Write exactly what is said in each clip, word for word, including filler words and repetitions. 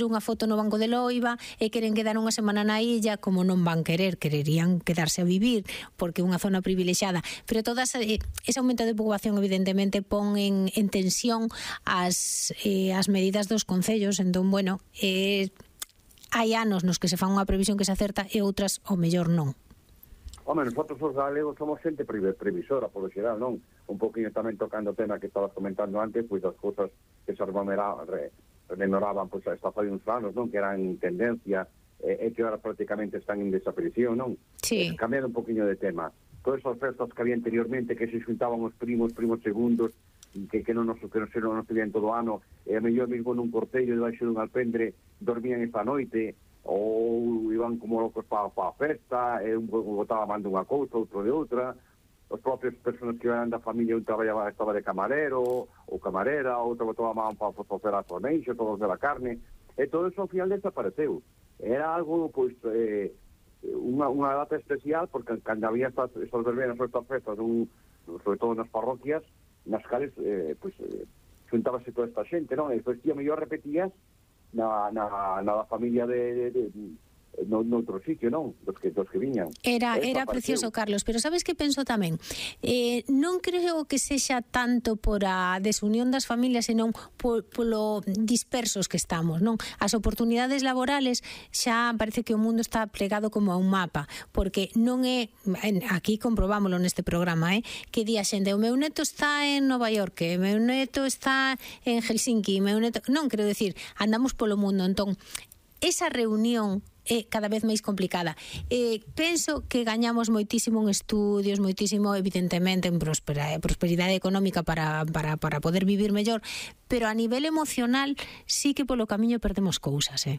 unha foto no Banco de Loiva e queren quedar unha semana na illa, como non van querer, quererían quedarse a vivir porque é unha zona privilexiada, pero todas eh, ese aumento de poboación evidentemente pon en, en tensión as, eh, as medidas dos concellos. Entón, bueno, eh, hai anos nos que se fan unha previsión que se acerta e outras o mellor non. Home, nosotros os galegos somos xente previsora, polo xeral, non? Un poquinho tamén tocando o tema que estabas comentando antes, pois das cousas que se rememoraban pois hasta fai uns anos, non? Que eran tendencia e eh, que ahora prácticamente están en desaparición, non? Sí. Eh, cambiando un poquinho de tema. Todas as festas que había anteriormente que se xuntaban os primos, primos segundos, que, que non nos que non se non nos tenían todo o ano, e a mellor mesmo nun cortello debaixo dun alpendre dormían esta noite, ou iban como locos para pa a festa, e un botaba mando unha cousa, outro de outra. Os propios personas que iban da familia, un traballaba, estaba de camarero ou camarera, outro botaba man para facer a torneixo, todos de la carne, e todo eso ao final desapareceu. Era algo, pois, eh, unha, unha data especial, porque cando había estas, estas verbenas ou estas festas, un, sobre todo nas parroquias, nas cales, eh, pois, eh, xuntábase toda esta xente, non? E despois, tío, mellor repetías na, na, na familia de, de, de no, no outro sitio, non? Dos que, dos que viñan. Era, era precioso, Carlos, pero sabes que penso tamén? Eh, non creo que sexa tanto por a desunión das familias, senón por, polo dispersos que estamos, non? As oportunidades laborales xa parece que o mundo está plegado como a un mapa, porque non é, aquí comprobámoslo neste programa, eh, que di a xente, o meu neto está en Nova York, o meu neto está en Helsinki, o meu neto... Non, quero decir, andamos polo mundo, entón, esa reunión é cada vez máis complicada. Eh, penso que gañamos moitísimo en estudios, moitísimo, evidentemente, en prosperidade, prosperidade económica para, para, para poder vivir mellor, pero a nivel emocional sí que polo camiño perdemos cousas, eh?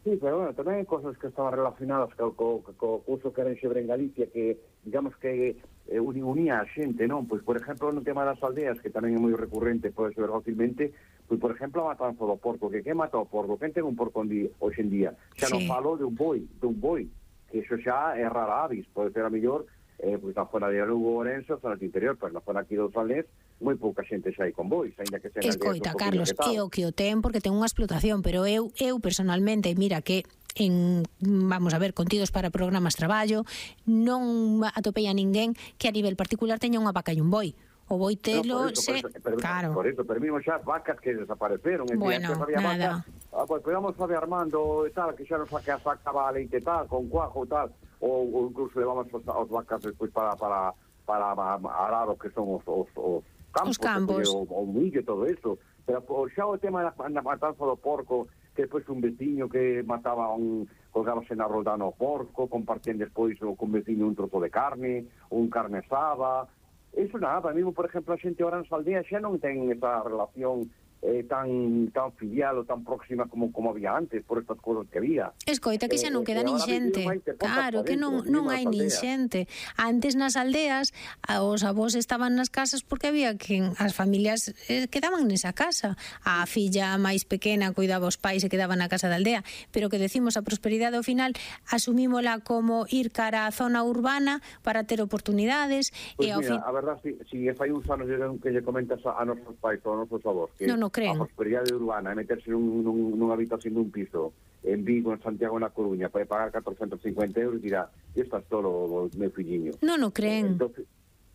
Sí, pero bueno, tamén hai cosas que estaban relacionadas co, co, co curso que era en Xebre en Galicia, que, digamos que eh, unía a xente, non? Pois, por exemplo, no tema das aldeas, que tamén é moi recurrente, pode ser fácilmente, pois, por exemplo, a matanza do porco, que que mata o porco? Quen ten un porco hoxe en día? Xa sí. non falo de un boi, de un boi, que iso xa é rara avis, pode ser a mellor, eh, pois na zona de Lugo, Orense, zona do interior, pero na zona aquí dos Valés, moi pouca xente xa hai con bois, ainda que sean... Escoita, Carlos, é o que o ten porque ten unha explotación, pero eu, eu personalmente, mira que en, vamos a ver, contidos para programas traballo, non atopei a ninguén que a nivel particular teña unha vaca e un boi. O boitelo, no, se... Por eso, pero, claro. Por eso, pero mismo xa vacas que desapareceron. Bueno, nada. Vacas, ah, pues podemos saber Armando e tal, que xa nos saca, sacaba a leite tal, con cuajo tal, ou, ou incluso levamos os, os vacas despois para, para, para arar o que son os, os, os campos, os campos. O, o millo e todo eso. Pero xa o tema da, da matanza do porco, que depois un veciño que mataba un... colgábase na roldana o porco, compartían despois con veciño un trozo de carne, un carne asada... Eso nada, mesmo, por exemplo, a xente ahora nas aldeas xa non ten esa relación eh, tan tan filial ou tan próxima como como había antes, por estas cousas que había. Escoita, que xa non queda eh, nin xente. Claro, que non, non hai nin xente. Antes nas aldeas, os avós estaban nas casas porque había que as familias eh, quedaban nesa casa. A filla máis pequena cuidaba os pais e quedaba na casa da aldea, pero que decimos a prosperidade ao final asumímola como ir cara á zona urbana para ter oportunidades. Pois e ao mira, fin... a verdad, si, si fai uns anos que lle comentas a, a nosos pais ou a nosos avós que non o creen. A prosperidade urbana é meterse nun, nun, nunha habitación dun piso en Vigo, en Santiago, na Coruña, para pagar catorcentos cincuenta euros, dirá, isto é todo, meu filliño. Non o creen. Entonces,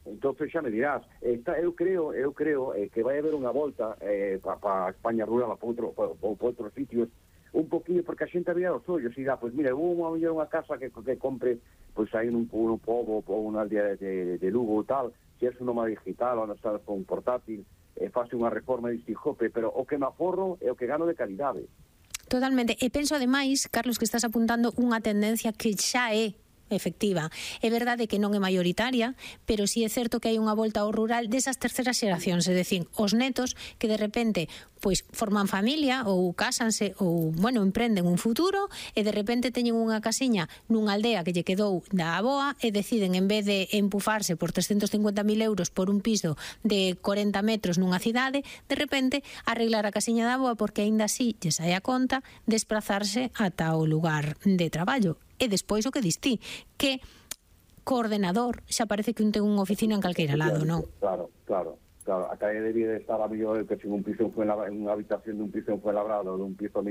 entonces xa me dirás, está, eu creo eu creo eh, que vai haber unha volta eh, para pa España rural, para outro, pa, pa outros sitios, un poquinho, porque a xente había os ollos, e dá, pois mira, hubo unha, unha casa que, que compre, pois aí nun, nun pobo ou unha aldea de, de Lugo ou tal, se é un nómada digital ou non estás con un portátil, e fase unha reforma de Stijope, pero o que me aforro é o que gano de calidade. Totalmente, e penso ademais, Carlos, que estás apuntando unha tendencia que xa é efectiva. É verdade que non é maioritaria, pero sí é certo que hai unha volta ao rural desas terceras xeracións, é dicir, os netos que de repente pois forman familia ou cásanse ou, bueno, emprenden un futuro e de repente teñen unha casiña nunha aldea que lle quedou da aboa e deciden, en vez de empufarse por trescentos cincuenta mil euros por un piso de corenta metros nunha cidade, de repente arreglar a casiña da aboa porque aínda así lle sai a conta desplazarse ata o lugar de traballo. E despois o que distí, que coordenador xa parece que un ten unha oficina en calqueira lado, non? Claro, claro. Claro, a calle debía de estar a mellor que sin un piso en Fuenlabrada, en unha habitación dun piso en Fuenlabrada ou dun piso